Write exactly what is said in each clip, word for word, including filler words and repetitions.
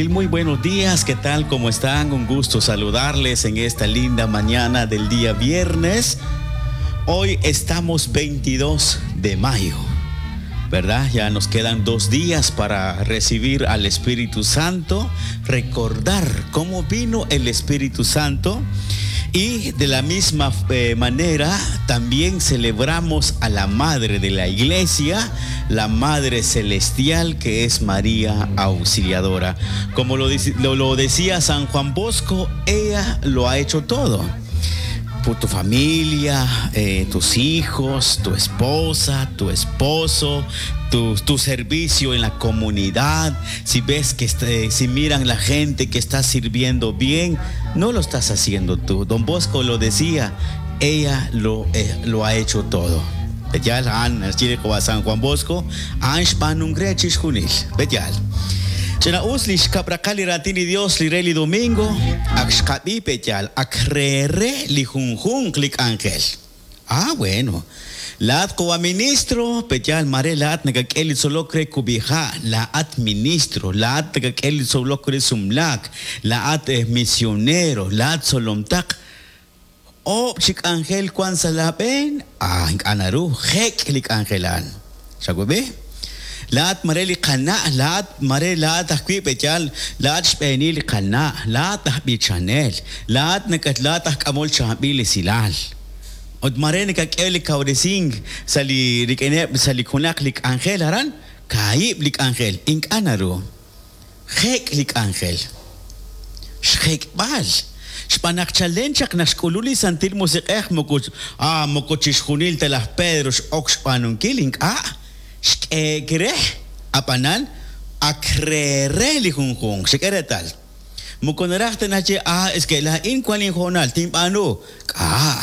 Muy buenos días, ¿qué tal? ¿Cómo están? Un gusto saludarles en esta linda mañana del día viernes. Hoy estamos veintidós de mayo, ¿verdad? Ya nos quedan dos días para recibir al Espíritu Santo, recordar cómo vino el Espíritu Santo. Y de la misma eh, manera también celebramos a la Madre de la Iglesia, la Madre Celestial, que es María Auxiliadora. Como lo, lo, lo decía San Juan Bosco, ella lo ha hecho todo. Por tu familia, eh, tus hijos, tu esposa, tu esposo, tu, tu servicio en la comunidad. Si ves que este, si miran la gente que está sirviendo bien, no lo estás haciendo tú. Don Bosco lo decía, ella lo, eh, lo ha hecho todo. Betial, an, San Juan Bosco, Chena us li xkab'raqal li raatin li Dios li re li domingo, ak xqab'i petyal, ak reere li junjunq li k'anjel. Ah, bueno. Laat kowa ministro, petyal mare laat nakak'e li tzolok re kubija, laat ministro, laat nakak'e li tzolok re sumlak, laat eh, misionero, laat tzolomtaq. O chik ángel kwan sa laben, ah, ink'anaru, jek li k'anjelan. Xakwebe? Laat mare li qana, laat mare laat ajwi' petyal, laat xb'eeni li qana, laat ajb'i chanel, laat nakat laat ajk'amol chaab'il li silal. Ut mare nakak'e li kawresing sa li rik'ineb' sa li junaq li k'anjel aran, kaayib' li k'anjel, ink'anaru. Jek' li k'anjel. Xjek'b'al. Xb'anaq chalen chaq naq xk'ulu li Santil Musiq'ej moko ah moko chixjunil ta laj Pedro x'ok xb'aanunkil ink'a'. Xk'eekre apanan akrere li junjunq xk'eretal moko naraj ta nache ah es que la in kuan injonal tinb'anu k'a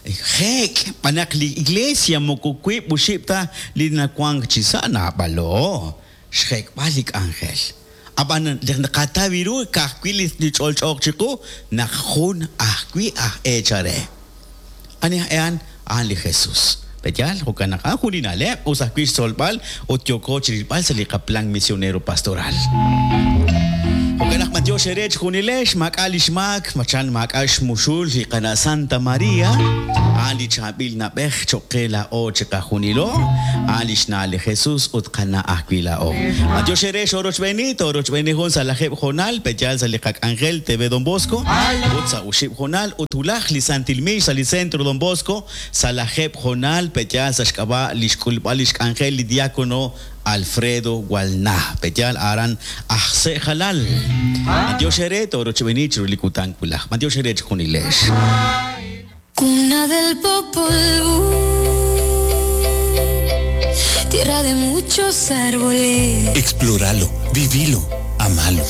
jek b'anaq li iglesia moko kuib' uxib' ta li nakuank chisa naab'alo xjek'b'al li k'anjel ab'an naqatawiru ka'ajwi' li ch'olch'oq chiqu naq jun ajwi' aj eechare ani ean an li Jesús. Petyal, jo'kan naq jun li na'leb' us ajwi' xtzolb'al ut yooko chirilb'al sa li qaplan misionero pastoral. Jo'kan naq matiox eere chjunilex maak'a' li xmaak, machan maak'a' xmuxul li qana' Santa María, a'an li chaab'il nab'ej cho'qe la'o chiqajunilo, a'an li xna' li Jesús ut qana' ajwi' la'o. Matiox eere xorochb'eeni, torochb'eeni jun sa lajeb' jonal, petyal sa li qak'anjel T V Don Bosco, ut sa uxib' jonal, ut wulaj li Santil Mix sa li Centro Don Bosco, sa lajeb' jonal, petyal sa xk'ab'a' li xk'ulb'al li xk'anjel li diácono Alfredo Walna, petyal aran ajse jalal. Matiox eere torochb'eeni chiru li kutan wulaj. Matiox eere chjunilex. Cuna del Popol Vuh, tierra de muchos árboles. Explóralo, vivilo, amalo.